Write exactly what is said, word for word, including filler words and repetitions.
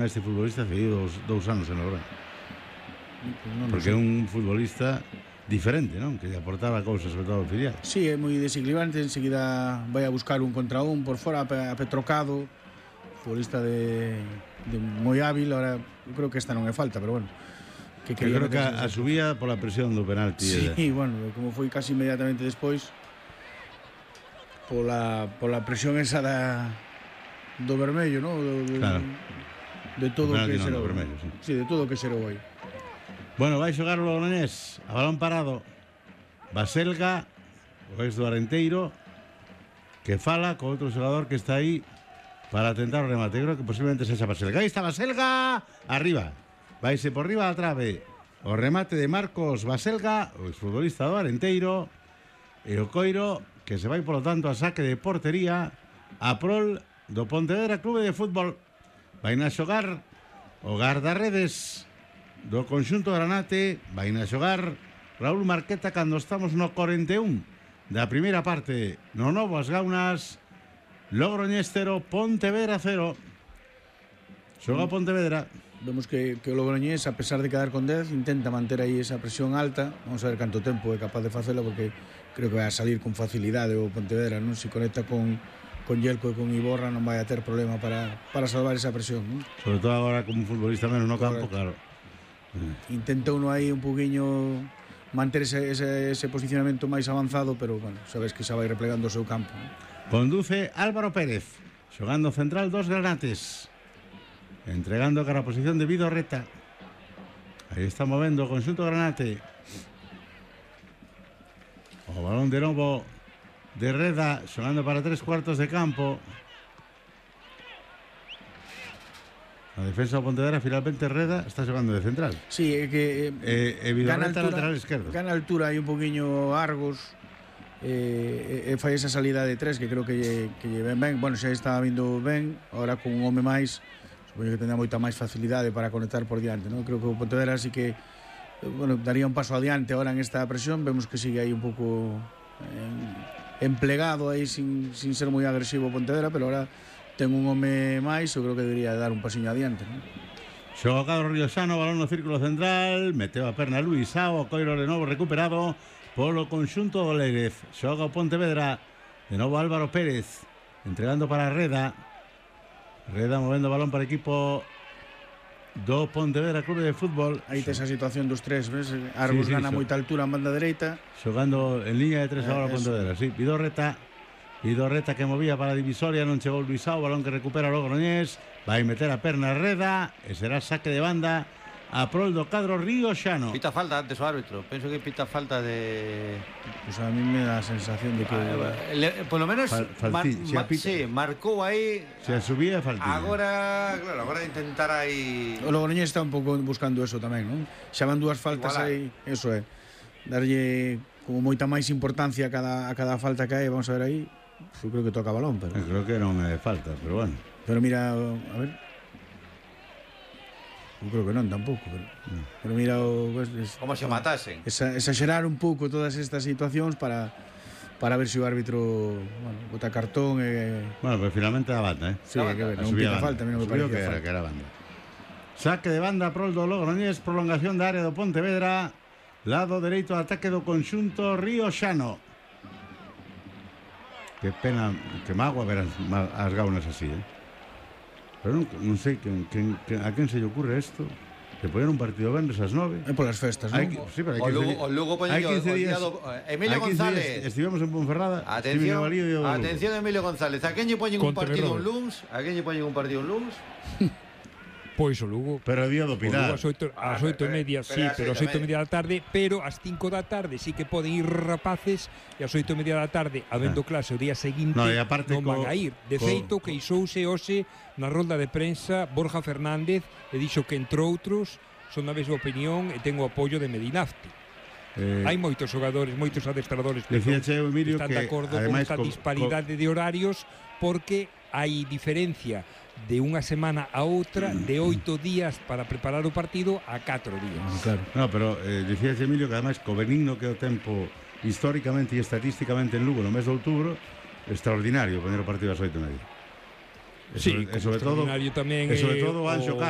Este futbolista hace dous, dous anos en Logroño. Porque é un futbolista diferente, non? Que lle aportaba cousas, sobre todo ao filial. Sí, é moi desequilibrante. Enseguida vai a buscar un contra un por fora a Petrocado, futbolista de, de moi hábil. Ahora, eu creo que esta non é falta, pero bueno, que, que creo que a, a subía pola presión do penalti. Sí, de... bueno, como foi casi inmediatamente despois, pola, pola presión esa da, do vermello, non? Do, do, claro. De todo o que no, xerou. Vermello, sí. Sí, de todo o que xerou aí. Bueno, vai xogar o Logroñés a balón parado. Baselga, o ex do Arenteiro, que fala con outro xogador que está aí para tentar o remate. Creo que posiblemente sexa Baselga. Aí está Baselga, arriba. Vaise por riba a trave. O remate de Marcos Baselga, o exfutbolista do Arenteiro, e o Coiro, que se vai, polo tanto, a saque de portería a prol do Pontevedra Clube de Fútbol. Vai na xogar o guardarredes do conxunto Granate. Vai na xogar Raúl Marqueta cando estamos no cuarenta e un da primeira parte. No novo as Gaunas. Logroñés cero, Pontevedra cero. Xoga Pontevedra. Vemos que, que o Logroñés, a pesar de quedar con dez, intenta manter aí esa presión alta. Vamos a ver canto tempo é capaz de facela, porque creo que vai a salir con facilidade o Pontevedra, non? Se conecta con con Yelko e con Iborra non vai a ter problema para, para salvar esa presión, non? Sobre todo agora como un futbolista menos no campo, claro. Intenta uno aí un poquinho manter ese, ese, ese posicionamento máis avanzado, pero, bueno, sabes que xa vai replegando o seu campo, non? Conduce Álvaro Pérez, xogando central dos Granates, entregando cara a posición de Vidorreta. Aí está movendo o conxunto Granate. O balón de novo de Reda, xogando para tres cuartos de campo. A defensa do Pontevedra, finalmente Reda está xogando de central. Sí, é que eh, e Vidorreta lateral esquerdo. Gana altura aí un poquinho Argos, e eh, eh, fai esa salida de tres que creo que lle, que lle ven ben. Bueno, xa está vindo ben, ahora con un home máis, supoño que tendrá moita máis facilidade para conectar por diante, ¿no? Creo que o Pontevedra sí que, bueno, daría un paso adiante ahora en esta presión. Vemos que sigue aí un pouco eh, emplegado aí sin, sin ser moi agresivo Pontevedra, pero ahora ten un home máis, eu creo que debería dar un pasiño adiante, non? Xoga Cadro Riosano, balón no círculo central, meteu a perna Luisao, o Coiro de novo recuperado polo conxunto do Lérez. Xoga o Pontevedra, de novo Álvaro Pérez, entregando para Reda. Reda movendo o balón para o equipo do Pontevedra Clube de Fútbol. Aí tes a situación dos tres, ves? Argos sí, sí, gana so. moita altura en banda dereita. Xogando en liña de tres eh, agora Pontevedra, sí. Vidorreta, Vidorreta que movía para a divisoria, non chegou Luisao, balón que recupera o Logroñés, vai meter a perna Reda e será saque de banda a prol do cadro Riosano. Pita falta antes o árbitro, penso que pita falta de... Pues a mí me da a sensación de que... Ah, le, por lo menos Fal, falti, mar, ma, sí, marcou aí. Se subía faltilla. Agora, claro, agora intentar aí... O Logroñés está un pouco buscando eso tamén, non? Xa van dúas faltas aí, eso é. Darlle como moita máis importancia a cada, a cada falta que hai, vamos a ver aí. Eu creo que toca balón, pero... Eu creo que non é falta, pero bueno. Pero mira, a ver... Eu creo que non, tampouco, pero... Mm. Pero mira o... Es, como se matasen. Esa, exagerar un pouco todas estas situacións para... Para ver se o árbitro... Bueno, bota cartón e... Bueno, pero finalmente a banda, eh? Sí, hay que ver, non pita falta, a mí non me parecía que era, falta. que era banda. Saque de banda prol do Logroñés, prolongación da área do Pontevedra, lado dereito de ataque do conxunto Riosano. Que pena, que mágoa ver as, as Gaunas así, eh? Pero non, non sei que, que, que, a quen se lle ocurre isto, que poñer un partido venres ás nove. É polas festas, non? Sí, pero hai o Lugo, o Lugo poñer o día do... Emilio González. Estivemos en Ponferrada. Atención, atención Emilio González. A quen lle poñen un partido un luns? A quen lle poñen un partido un luns? Pois o Lugo. Pero o día do Pilar. Ás oito e media, sí, pero ás oito e media da tarde, pero ás cinco da tarde sí que poden ir rapaces, e ás oito e media da tarde, habendo clase o día seguinte, no, non van a ir. De feito, queixouse hoxe na rolda de prensa Borja Fernández e dixo que, entre outros, son da mesma opinión e ten o apoio de Medinafti. Eh, Hai moitos xogadores, moitos adestradores que están de acordo con esta disparidade de horarios, porque hai diferencia de unha semana a outra, de oito días para preparar o partido a catro días. Claro. No, pero eh, dicía Emilio que ademais co benigno que é o tempo históricamente e estatísticamente en Lugo no mes de outubro, extraordinario poner o partido ás oito e media. Sí, e sobre todo, tamén e sobre todo o Anxo Carro.